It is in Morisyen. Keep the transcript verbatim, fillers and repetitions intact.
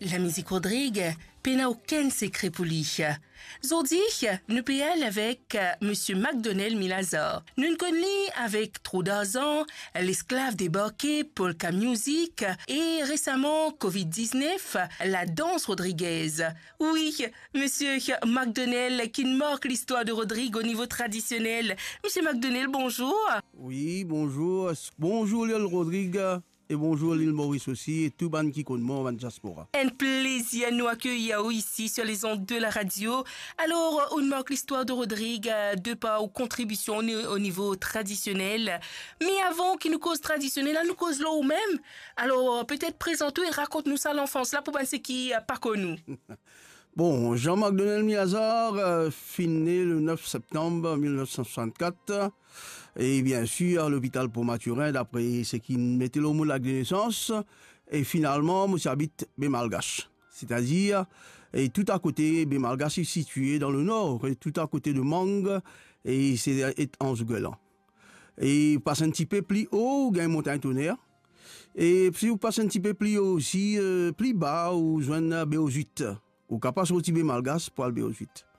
Lamizik Rodrig pena okenn sekre pou li. Zordi, nou pe al avek Misie Macdonell Milazar. Nou'nn konn li avek Trop d'argent, L'esclave débarqué, Polka Music e resaman Covid diznef, Ladans Rodriguez. Wi, Misie Macdonell ki'nn mark listwar de Rodrig o nivo tradisionel. Misie Macdonell, bonzour. Wi, bonzour. Bonzour, Lil Rodrig. E bonzour Lil Moris osi, e tou bann ki konn mwa, bann diaspora. Enn plezir nou akeyir ou isi sur les ondes de la radio. Alor, ou'nn mark listwar de Rodrig, euh, de par ou kontribision o, o nivo tradisionel. Me avan ki nou koz tradisionel la, nou koz lor ou mem. Alor, petet prezant ou e rakont nou sa lanfans la pou bann seki, euh, pa konn ou. Bon, Jean Macdonell Milazar, euh, finn ne le nef septanm mil nef san swasannkat. E biensir, lopital Port Mathurin, dapre seki mete lor mo lakt de nesans. E finalman, mo ti abit Be Malgache. Setadir, e tou akote, Be Malgache est situé dans le nord, e tou akote de Mang, e se et Anse Guerland. E pas enn tipe pli o, ou gagn Montagne Tonnerre. E si ou pas enn tipe pli o osi, euh, pli ba, ou zwenn Be Ozwit. Ou kapav sorti Be Malgache pou al Be Ozwit.